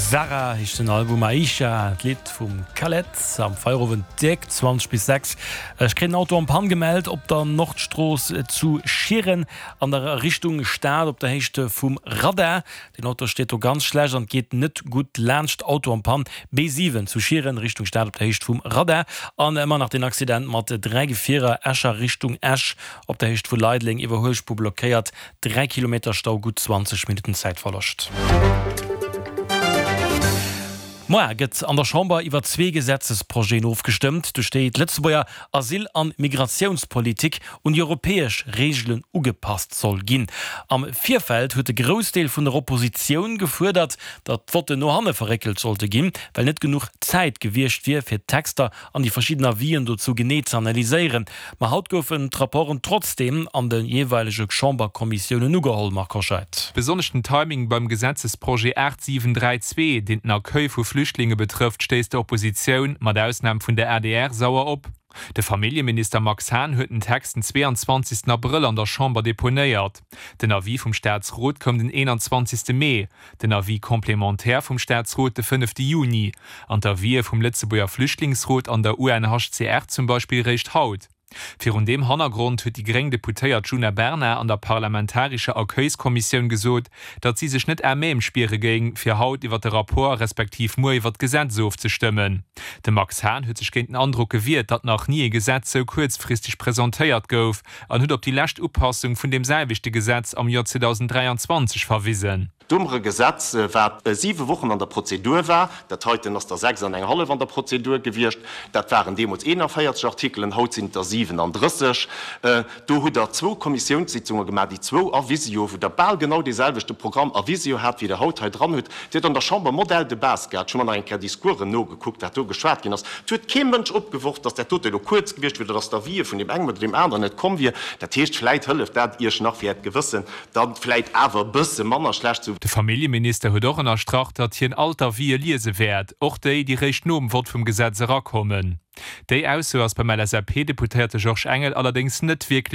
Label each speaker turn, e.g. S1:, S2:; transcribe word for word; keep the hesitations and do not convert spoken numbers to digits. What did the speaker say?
S1: Sarah heescht den Album, Aisha d'Lidd vum Khaled am Feierowend déck zwanzeg bis sechs. Ech kréien en Auto en panne gemellt op der Nordstrooss zu Schieren an der Richtung Stad op der Héicht vum Radar. Den Auto steet do ganz schlecht an geet net gutt laanscht. Auto en panne B siwen zu Schieren Richtung Stad op der Héicht vum Radar. An ëmmer nach den Accident mat dräi Gefierer Escher Richtung Esch op der Héicht vu Leideleng, Iwwerhuelspuer blockéiert, dräi Kilometer Stau, gutt zwanzeg Minutten Zäitverloscht. Moar gëtt an der Chamber iwwer zwee Gesetzesprojeten ofgestëmmt, duerch déi d'Lëtzebuerger Asyl an Migratiounspolitik un déi europäesch Reegelen ugepasst soll ginn. Am Virfeld huet de Groussdeel vun der Oppositioun gefuerdert, datt d'Votten no hanne verréckelt sollte ginn, well net genuch Zäit gewiescht wier, fir d'Texter an déi verschidden Avisen dozou genee ze analyséieren. Ma haut goufen d'Rapporten trotzdeem an de jeeweilege Chamberkommissiounen ugeholl, Marc Hoscheid.
S2: Besonnesch den Timing beim Gesetzesprojet aacht siwen dräi zwee, deen den Accueil vu Flüchtlinge betrëfft, stéisst der Oppositioun, mat Ausnam vun der adr, sauer op. De Familljeminister Max Hahn huet den Text den zweeanzwanzegsten Abrëll an der Chamber deponéiert. Den Avis vum Staatsrot koum den eenanzwanzegste Mee, den Avis complémentaire vum Staatsrot de fënnefte Juni an d'Avisë vum Lëtzebuerger Flüchtlingsrot an der U N H C R zum Beispill réischt haut. Virun deem Hannergrond huet déi gréng Deputéiert Djuna Bernard an der parlamentarescher Accueilskommissioun gesot, datt si sech net à même spiere géing, fir haut iwwer de Rapport respektiv muer iwwer d'Gesetz ofzestëmmen. De Max Hahn huet sech géint den Androck gewiert, datt nach ni e Gesetz sou kuerzfristeg presentéiert gouf an huet op déi lescht Upassung vun deem selwechte Gesetz am Joer zweedausend dräianzwanzeg verwisen.
S3: Do hu mer e Gesetz, wat siwe Wochen an der Prozedur war. Dat heiten ass der sechs an eng hallef an der Prozedur gewiescht. Dat waren deemools eenanvéierzeg Artikelen, haut sinn et der siwenandrësseg. Do hutt Der zwou Kommissiounssitzunge gemaach, déi zwou a Visio, wou Der bal genau deeselwechte Programm a Visio hat, wéi Der haut hei dran hutt. Dir hutt an der Chamber Modèle de base gehat. Ech hu mer nach eng Kéier Discoursen nogekuckt, wat do geschwat ginn ass. Et huet kee Mënsch opgeworf, dass dat dote elo kuerz gewiescht wier oder dass d'Avisë vun deem engem oder deem aneren net komm wier. Dat heescht, vläit hëlleft dat Iech nach fir Äert Gewëssen dann vläit awer e bësse manner schlecht ze.
S2: De Familljeminister huet och ënnerstrach, datt hien all d'Avisë liese wäert, och déi, déi réischt nom Vott vum Gesetz erakommen. Déi Ausso ass beim L S A P-Deputéierte Georges Engel allerdéngs net wierklech.